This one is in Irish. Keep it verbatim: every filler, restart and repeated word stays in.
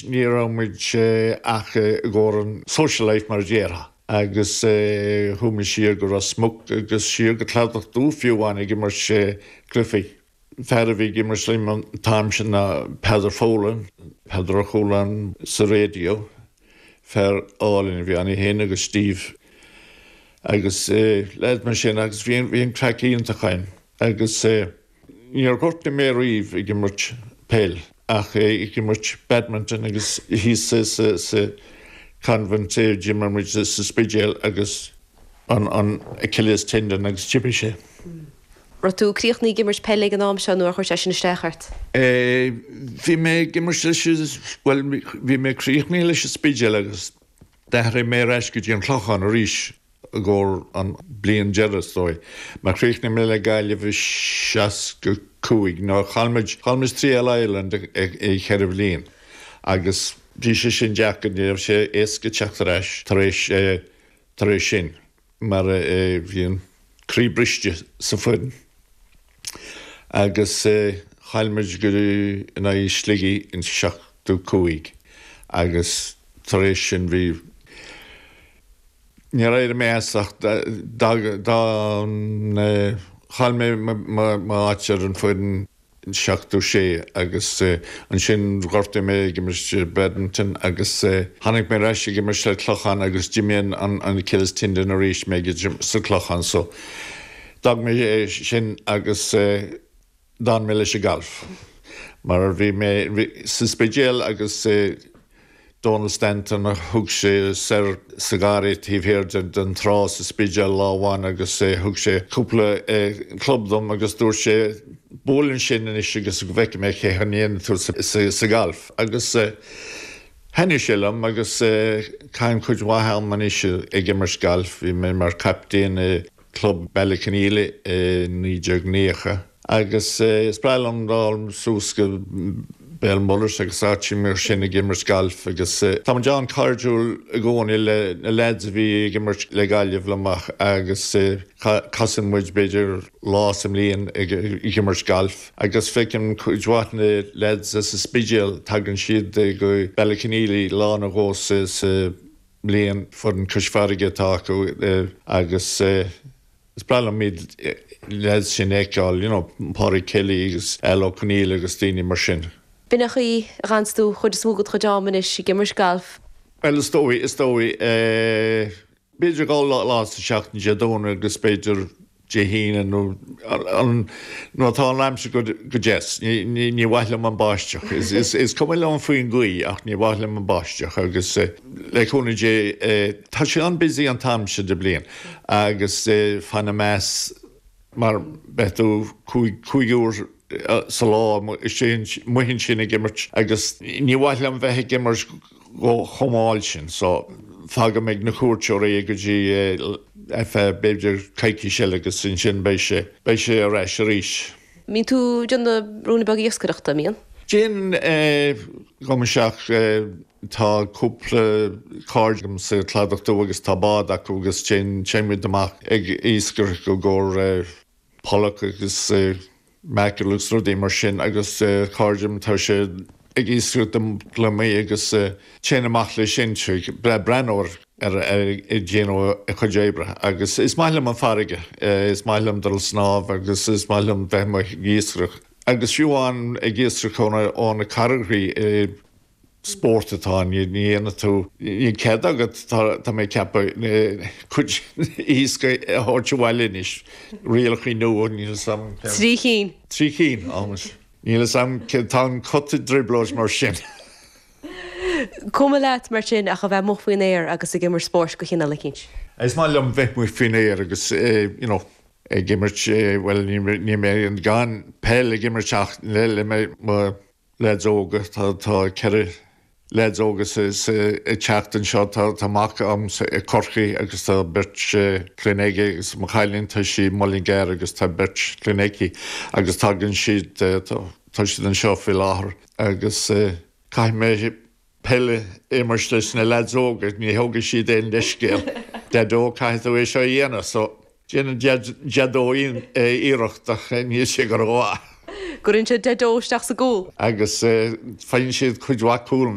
Ní raibh muid ach i gcomhair an social life mar déarfá. agus chuaigh muid siar go Ros Muc agus siar go Cladach Dubh fiú amháin ag imirt cluichí. Fear a bhí ag imirt liom an t-am sin ná Peadar Folan, Peadar Ó Cualáin sa raidió, fear álainn a bhí ann féin agus Steve agus leaid mar sin agus bhí bhí an craic iontach againn agus níor ghortaigh mé riamh ag imirt peil ach ag imirt badminton agus thíos sa sa convent d'imir muid sa Spidéal agus an an Achilles tendon agus d'imigh sé. Raibh tú críochnaithe ag imirt peile ag an am seo nó ar chuir sé sin isteach ort? Bhí mé ag imirt leis well bhí mé críochnaithe leis an Spidéal agus d'athraigh mé ar ais go dtí an Clochán arís i gcomhair an bliain deireadh dóigh. Mar chríochnaigh mé le Gaillimh i seasca cúig nó chaill muid chaill muid trí All Ireland i cheithre bhliain agus bhí sé sin deacair ní raibh sé éasca teacht ar ais tar éis tar éis sin mar bhí an croí briste sa foireann. Agus chaill muid go in aghaidh Shligigh in seachtó cúig agus tar éis sin bhí Níor éirigh mé as ach dá chaill mé m'áit ar an foireann seachtó sé agus ansin ghortaigh mé ag imirt badminton agus tháinig mé ar ais ag imirt le Clochán agus d'imigh an an Achilles tendon arís mé sa Clochán so d'fhág mé sin agus d'fhan mé leis an galf. Mar bhí mé sa Spidéal agus Donald Stanton a thug sé soir sa gharraí taobh thiar den trá sa Spidéal lá amháin agus thug sé cúpla club dom agus dúirt sé buail ansin anois agus go bhfeicfidh mé cé a ndéanann tú sa galf. Agus thaitnigh sé liom agus caithim cuid mhaith am anois ag imirt galf, bhí mé mar captaen i club Ballyconneely i naoi déag nócha agus is breá liom dul suas go Béal Mullers agus áit mar sin ag imirt galf agus tá muid an-chairdiúil i gcónaí le na lads a bhí ag imirt le Gaillimh le amach agus casann muid b'fhéidir lá sa mbliain ag imirt galf agus feicim cuid mhaith na lads as an Spidéal tagann siad go Ballyconneely lá nó dhó sa mbliain foireann Cois Farraige atá acu agus is breá liom iad lads sin a fheiceáil, you know, Pádraig Kelly agus Al O'Connell agus daoine mar sin. B'in é an chaoi a gcaitheann tú chuid is mó de do chuid am anois ag imirt galf. Well is dóigh is dóigh b'fhéidir dhá lá sa seachtain Dé Domhnaigh agus b'fhéidir Dé hAoine nó an nó tá an aimsir go go deas. Ní ní mhaith liom an báisteach. Is is is cuma liom faoin ghaoth ach ní mhaith liom an báisteach agus le cúnamh Dé tá sé an-busy an t-am seo de bliain agus fan meas mar beidh tú cúig cúig uair sa lá sin muhin sin ag imirt agus ní mhaith liom bheith ag imirt chomh mall sin so fágaim ag na cuairteoirí go dtí fe b'fhéidir coicís eile agus ansin beidh sé beidh sé ar ais arís. Mbíonn tú ag déanamh ruainne beag iascaireachta mbíonn? Déan go seach tá cúpla cairde agam sa Chladach Dubh agus tá bád acu agus téann muid amach ag iascaireacht i gcomhair pollock agus mackerel agus rudaí mar sin agus cairde tá sé ag iascaireacht gliomaigh agus téann amach leis sin bre breathnú ar ag déanamh a chuid oibre agus is maith liom an farraige is maith liom dul snámh agus is maith liom bheith amuigh ag iascaireacht. Agus fiú amháin ag iascaireacht ó na carraigí spórt atá ní dhéanann tú ní cead agat tá mé ceapadh cuid iasc a thabhairt abhaile anois rialacha nua níl a fhios agam. Trí cinn. Trí cinn almost. Níl a fhios agam tá an cut i dtrioblóid mar sin. Cuma leat mar sin ach a bheith amuigh faoin aer agus ag imirt spóirt de chineál eicínt. Is maith liom bheith amuigh faoin aer agus you know, ag imirt well ní mé gan peil ag imirt ach le le mé mo lads óga tá tá ceithre lads óga sa ag teacht anseo tá tá mac agam i Corcaigh agus tá beirt clainne aige agus mo chailín tá sí Mullingar agus tá beirt clainne aici agus tagann siad tá siad anseo faoi láthair agus caithfidh mé peil a imirt leis na lads óga ní thógfaidh siad aon leithscéal. Deaideo caithfidh tú é seo a dhéanamh so déanann Deaideo iarracht ach níl sé go rómhaith. Cuireann siad deich dó isteach sa gcúl. Agus faigheann siad cuid mhaith cúl.